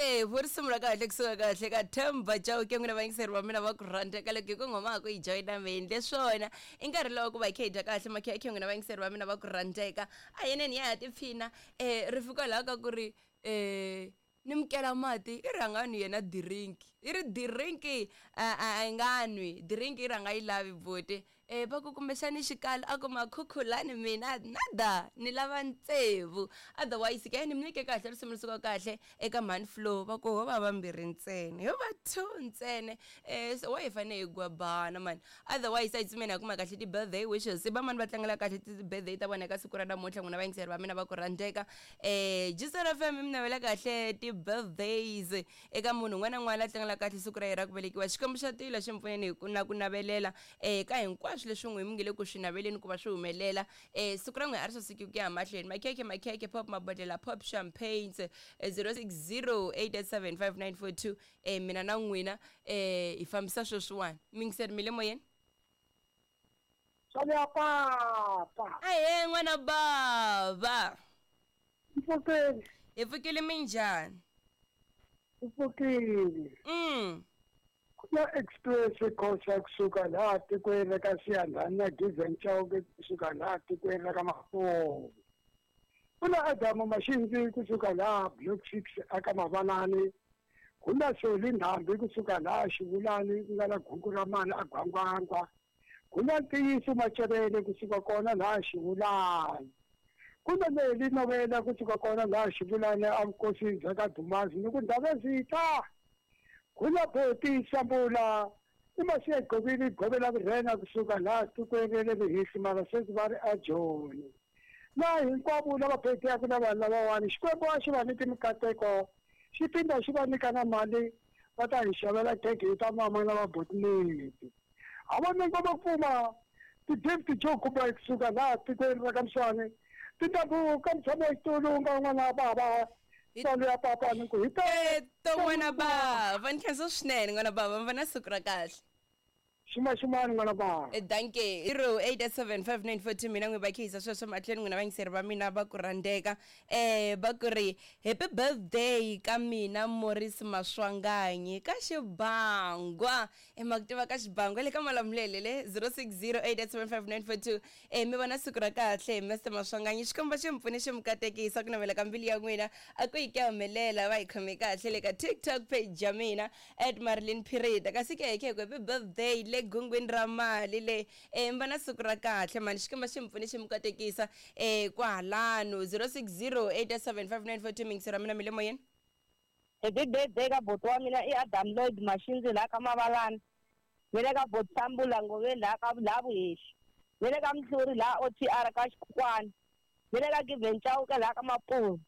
Tsevu risimu ra kahle kusuka kahle ka Themba Chauke n'wina vayingiseri va mina va ku rhandza ka loko hi ku nghoma ku yi joyina mi endle swona i nkarhi lowu ku va hi kha hi dya kahle makhekhe n'wina vayingiseri va mina va ku rhandzeka a yeneni ya ha tiphina um ri fika laha ka ku ri um ni mukela mati i rhanga nwi yena dirinki i ri dirinki a a a nga nwi dirinki i rhanga yi lavi buti E, va ku kumbexani xikalo a ku makhukhulani mina nada ni lava ntsevu otherwise ke ni mi nyike kahle risimu ri suka kahle eka mhani flow va ku ho va vambirhi ntsena ho va two ntsena um so wa hi fane hi gwabana mani otherwise a hi tsutsumeni hi kuma kahle ti-birthday wishes i va mani va tlangela kahle ti-birthday ta vona eka siku ra namuntlha n'wina vayingiseri va mina va ku rhandzeka um Gcina FM mi navela kahle ti-birthdays Eka munhu un'wana na un'wana la tlangelaka kahle siku ra yena ra ku velekiwa, Xikwembu xa tilo xi mi pfuneni hi ku na ku navelela eka hinkwaswo leswi n'wi mi nge le ku swi naveleni ku va swi humelela. Siku ra n'wina a ri saseki ku ya mahlweni. Makhekhe, makhekhe, pop mabodlhela, pop champagnes, 0608875942. Mina na n'wina hi fambisa sweswiwani. Miyingiseri mi le moyeni? Swa ya papa. Ahee n'wana bava. Mpfukeni. Hi pfukile minjhani? Hi pfukile. Ku na express Khosa kusuka laha tikweni ra ka Siyandhani na Given Chauke kusuka laha tikweni ra ka Mapuve. Ku na Adamu Mashinzi kusuka laha Block 6 aka Mavalani. Ku na Soli Ndhambi kusuka laha Xivulani ku nga na Guku ra Mani a Gwangwangwa. Ku na ntiyiso Macevele kusuka kona laha Xivulani. Ku na Leli Novela kusuka kona laha Xivulani evukosini bya ka Dumazi ni ku Ndhavezitha. Ku na Boti Sambula i Masiya Gqobile Govela Vurhena kusuka laha tikweni ra le Rihisi mara sweswi va ri eJoni. Na hinkwavo lava phetheyaka na vanhu lavawani Xikwembu a xi va nyiki mikateko xi phinda xi va nyika na mali va ta hi xavela khekhe hi ta mama na va boti. A va nyika va kuma ti-gift jo kuma kusuka laha tikweni ra ka Mswane tintambu ka mutshami wa xitulu nga n'wana bava tsalo ya papa ni ku hi to n'wana bava ni khensa swinene n'wana bava mi va na siku ra kahle. Ximaximani n'wana bava. Danke. 08875942 mina n'wi va khehisa sweswo mahlweni n'wina vayingiseri va mina va ku rhandzeka va ku ri happy birthday ka mina Morris Maswanganyi ka Xibangwa. E ma ku tiva ka xibango le ka Malamulele le 0608875942 e mi vona siku ra kahle Mr Maswanganyi Xikwembu xi mi pfune xi mi katekisa ku navela ka mbilu ya n'wina a ku yi ku ya humelela va hi khome kahle le ka TikTok page ya mina at Marilyn Phirita kasi ke ke happy birthday le gungwini ra mali le e mi vona siku ra kahle mani Xikwembu xi mi pfune xi mi katekisa e kwahalano 0608875942 mingisero ya mina mi le moyeni. Happy birthday ka buti wa mina i Adam Lloyd Mashinzi laha ka Mavalani ni le ka buti Sambula Ngoveni laha ka laha Vuhehli ni le ka Mhluri laha OTR ka Xikhukwani ni le ka Given Chauke laha ka Mapuve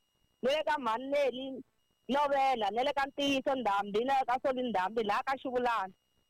ni le ka Mhani Nelly Novela ni le ka Ntiyiso Ndhambi na le ka Soli Ndhambi laha ka Xivulana.